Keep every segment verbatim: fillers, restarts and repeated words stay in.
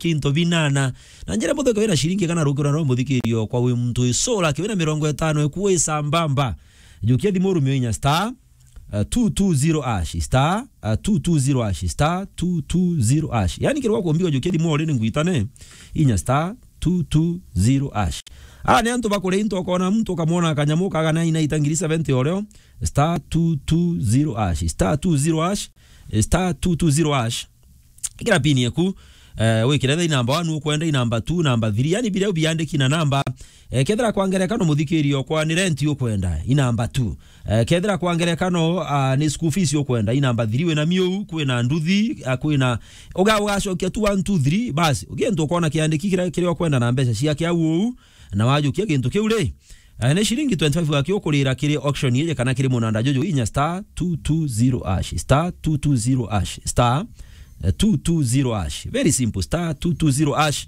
kinto binana. Na njira mutheko ina shilingi kana rukira no muthikirio kwa wi muntu isura kiwina mirongo itano eku wi sambamba. Jukia thimu rumio inya star, uh, two two zero hash, star, uh, two two zero hash, star two two zero hash. Yani kirwa kumbika jukia thimu ori ni ngwitane, inya star two two zero hash. Ah, ni antu bakuria into ukona muntu ukamwona kanyamu kaga na ina itangiri seventy oreo, star two two zero hash, star two zero hash, star two two zero hash. Ikira pini yaku, eh, wikire tha inamba one ukwenda, inamba two, namba three, yani biria biandiki na namba. Eh, kethira kwa ngerekano muthikirio kwa ni rent ukwenda, inamba two. Eh, kethira kwa ngerekano, ah, ni school fees ukwenda, inamba three, wina miu, kwina nduthi, ah, kwina, uga-, ugacokia tu one, two, three, basi. Ugientu ukona kiandiki kiria, kiria ukwenda na mbeca ciake au uu, na wajukia gintu kiu ri, eh, ni shilingi twenty-five gaki ukurira kiri auction iji kana kiri munanda juju inya star two two zero hash, star two two zero hash, star, eh, two two zero hash. Very simple, star two two zero hash.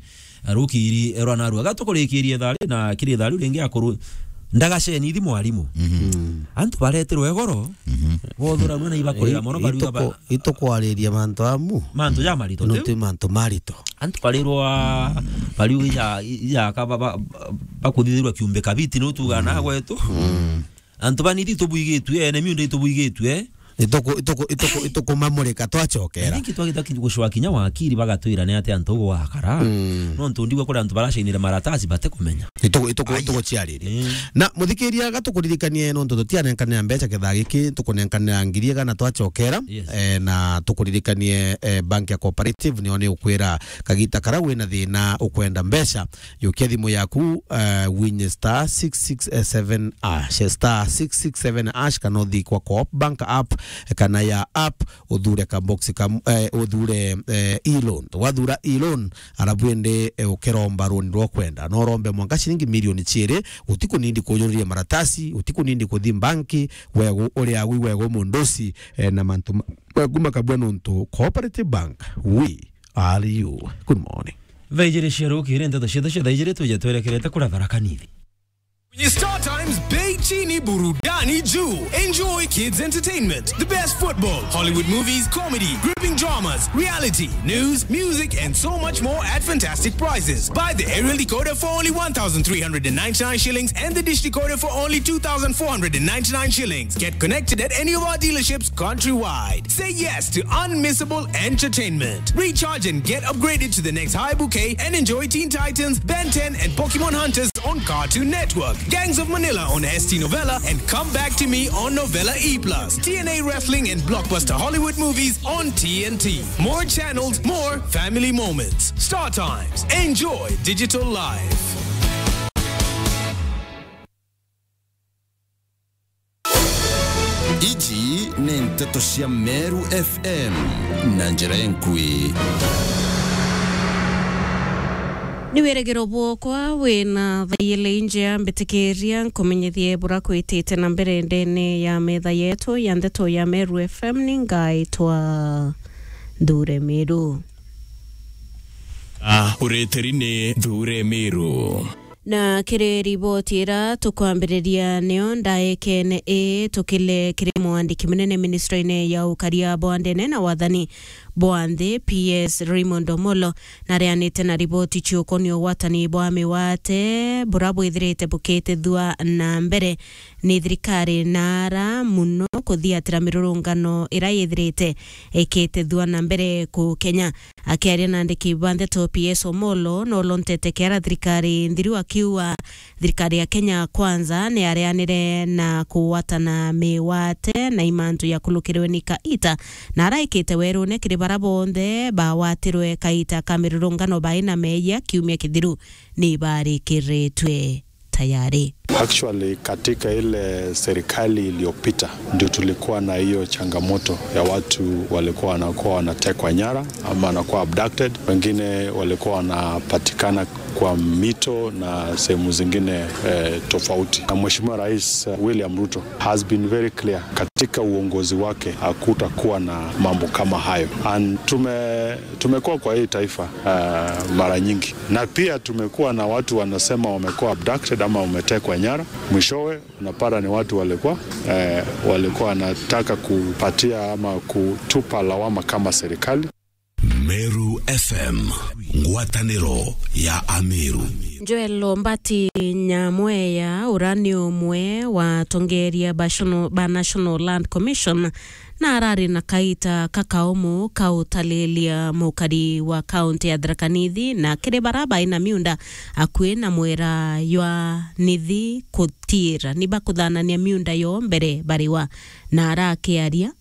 Eh, rukiri, eh, rwa narua. Gatukurikirie thari na kiri thari ringi akuru. Ndagaceni ithi mwarimu. Mhm. Antu bareterwe goro, Mhm. bothuragua na ibakurira mono, bariuga ba- Ituku-, itukwariria mantu amu. Mantu ja marito, Nontu tiu? Mantu marito. Antu barirwa, bariuga ija, ija ka ba, ba, ba, bakuthithirwa kiumbe kabiti, no tuga na gwetu. Mm. Antu banithi tubwigitue, ene miunda itubwigitue. Ituku-, ituku-, ituku-, itukumamurika twacokera. I think twagita ki-, gucwa kinya wakiri bagatwira ni ati antu gwakara. Mm. No ntu ndigwa kuri antu baracainire maratasi bate kumenya. Ituku-, ituku-, Ai. Ituguciariria. Mm. Na muthikiria gatukuririkanie nontu tutianenkanira mbeca kethaa giki, tukunenkanira ngiri igana twacokera. Yes. Eh, na tukuririkanie, eh, bank ya Cooperative nio ni ukwira kagita kara wina thina ukwenda mbeca, yukia thimu yaku, eh, winye star six six seven hash, star six six seven hash, kana uthi kwa Coop Bank app, kana ya app, uthure ka box kam-, eh, uthure, eh, e-loan. Wathura e-loan, arabu indi, eh, ukiromba runi rwa kwenda. No urombe mwanka ciringi milioni ciiri, utikunindi kujuria maratasi, utikunindi kuthi banki, wegu, uri agu wegu mundusi, eh, na mantu ma-, maku makabua nontu Cooperative Bank, we are you. Good morning. Thaa ijiri cia rukiri, nteto ciethe cia thaa ijiri tuje twerekerete kuria Tharaka Nithi. Kwenye Star Times, bei chini, burudani juu. Enjoy kids entertainment, the best football, Hollywood movies, comedy, gripping dramas, reality, news, music, and so much more at fantastic prices. Buy the aerial decoder for only one thousand three hundred and ninety-nine shillings and the dish decoder for only two thousand four hundred and ninety-nine shillings. Get connected at any of our dealerships countrywide. Say yes to unmissable entertainment. Recharge and get upgraded to the next high bouquet and enjoy Teen Titans, Ben ten, and Pokemon Hunters on Cartoon Network, Gangs of Manila on S T Novella, and Come Back to Me on Novella E plus, T N A Wrestling and blockbuster Hollywood movies on T N T. More channels, more family moments. Star Times. Enjoy digital life. Iji ni nteto cia Meru F M na njira enkui. Ni wirigiro bwokwa wina thaiyele injia mbitikiria nkumenyithie bura kwitite na mbere ndene ya metha yetu ya nteto ya Meru F M. Ni ngaitwa Nthure Miru. Ah, uritiri ni Nthure Miru. Na kiri riboti ira tukwambiriria niyo ndaekene ii tukile kiri mwandiki munene ministry-ini ya ukaria bwa ndene na wathani bwa nthi, P S Raymond Omolo, na arianite na riboti ciukonia ugwatani bwa miwate bura bwithirite bukitethua na mbere ni thirikari na ara muno kuthiatira mirurungano ira yithirite ikitethua na mbere ku Kenya. Akiaria na andiki ba nteto, P S Omolo no lontete kiara thirikari nthiru akiuga thirikari ya Kenya Kwanza ni areanire na kugwatana miwate na imantu ya kulukirwe ni kaita na araikite werune kiri bara bonthe bagwatirwe kaita ka mirurungano baina meeyia kiumia kithiru ni barikiritwe tayari. Actually, katika ile serikali iliyopita ndio tulikuwa na hiyo changamoto ya watu walikuwa wanakuwa wanatekwa nyara ama wanakuwa abducted. Wengine walikuwa wanapatikana kwa mito na sehemu zingine, eh, tofauti. Na Mheshimiwa Rais, eh, William Ruto has been very clear katika uongozi wake hakutakuwa na mambo kama hayo. And tume-, tumekuwa kwa hii taifa, eh, mara nyingi. Na pia tumekuwa na watu wanasema wamekuwa abducted ama wametekwa nyara. Mwishowe unapata ni watu walikuwa, eh, walikuwa wanataka kupatia ama kutupa lawama kama serikali. Meru F M, ngwataniro ya Ameru. Joel Ombati Nyamweya, ura ni umwe wa atongeria ba National, ba National Land Commission, na arari na kaita kakaumu ka utalilia mukari wa kaunti ya Tharaka Nithi na kiri bara bai na miunda akui na mwera jwa Nithi kutiira ni bakuthanania miunda yo mbere bariwa. Na arakiaria,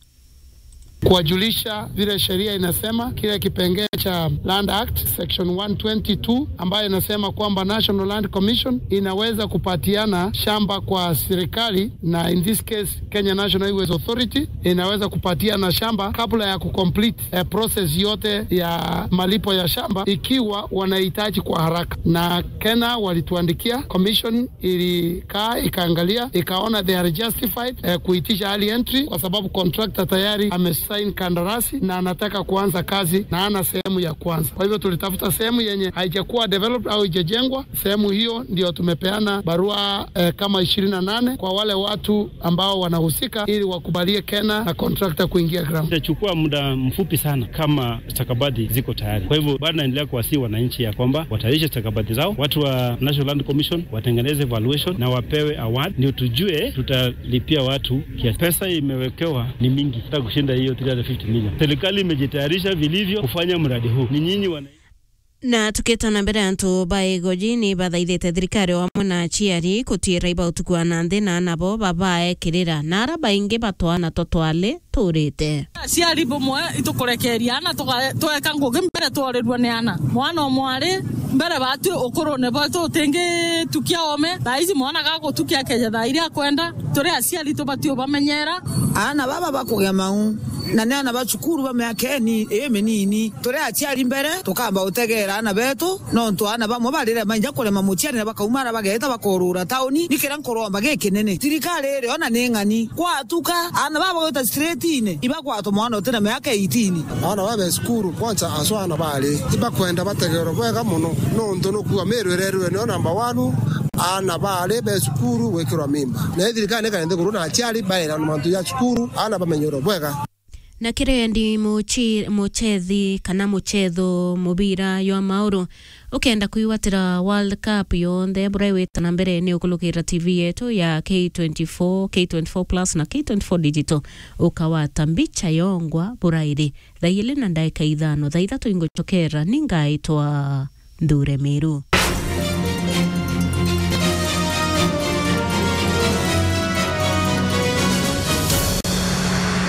kuwajulisha vile sheria inasema, kile kipengee cha Land Act section one twenty two, ambayo inasema kwamba National Land Commission inaweza kupatiana shamba kwa serikali, na in this case Kenya National Highways Authority inaweza kupatiana shamba kabla ya kucomplete, eh, process yote ya malipo ya shamba, ikiwa wanahitaji kwa haraka. Na KeNHA walituandikia, commission ilikaa ikaangalia, ikaona they are justified, eh, kuitisha early entry kwa sababu contractor tayari amesign kandarasi na anataka kuanza kazi na ana sehemu ya kwanza. Kwa hivyo tulitafuta sehemu yenye haijakuwa developed au haijajengwa. Sehemu hiyo ndio tumepeana barua, eh, kama ishirini na nane kwa wale watu ambao wanahusika ili wakubalie KeNHA na contractor kuingia ground. Itachukua muda mfupi sana kama stakabadhi ziko tayari. Kwa hivyo, bado naendelea kuwasihi wananchi ya kwamba watayarishe stakabadhi zao, watu wa National Land Commission watengeneze valuation na wapewe award, ndio tujue tutalipia watu kiasi. Pesa imewekewa ni mingi, hata kushinda hiyo three hundred fifty million. Serikali imejitayarisha vilivyo kufanya mradi huu. Ni nyinyi wana- Na tukita na mbere, antu ba Igoji ni bathaithite thirikari o amwe na aciari kutiira iba utuku wa nanthi na ana bo babaekirira, na ara baingi batwana to twali tuurite. Aciari bumwe itukurekeria ana tuka-, tweka ngugi mbere tworirua ni ana. Mwana o mwari mbere batwi ukurune bwetu utingitukia ome. Thaa ici mwana gagutukia akeja thaa iria akwenda. Turi aciari tubati ubamenyera. Ana baba bakugia mau, na ni ana ba cukuru ba miaka ini-, iminini. Turi aciari mbere, tukamba utegeera ana betu, nontu ana bamwe barire mainja kurema muciari na bakauma ara bageeta bakorura tauni. Ni kiria nkuromba gikinene, thirikari iri ona ni ng'ani, gwatuka ana baba gwita straight-ini, ibagwatwa mwana utina miaka eighteen. Ana babe cukuru, kwanza aswa ana bari, ibakwenda bategeerwe bwega mono, nontu nukuga Meru irerwe niyo number one, ana bari be cukuru gwikirwa mimba. Na thirikari ni kaende kuru na aciari baira na mantu ya cukuru, ana bamenyerwe bwega. Na kirendi muchi-, muchethi kana muchetho mubira jwa mauru, ukenda kwigwatira World Cup yonthe buria igwita na mbere, ni ukulukira T V yetu ya K twenty-four, K twenty-four Plus na K twenty-four Digital, ukawata mbicha yongwa burairi thaa ili na ndaika ithano. Thaa ithatu inguchokera, ni ngaitwa Nthure Miru.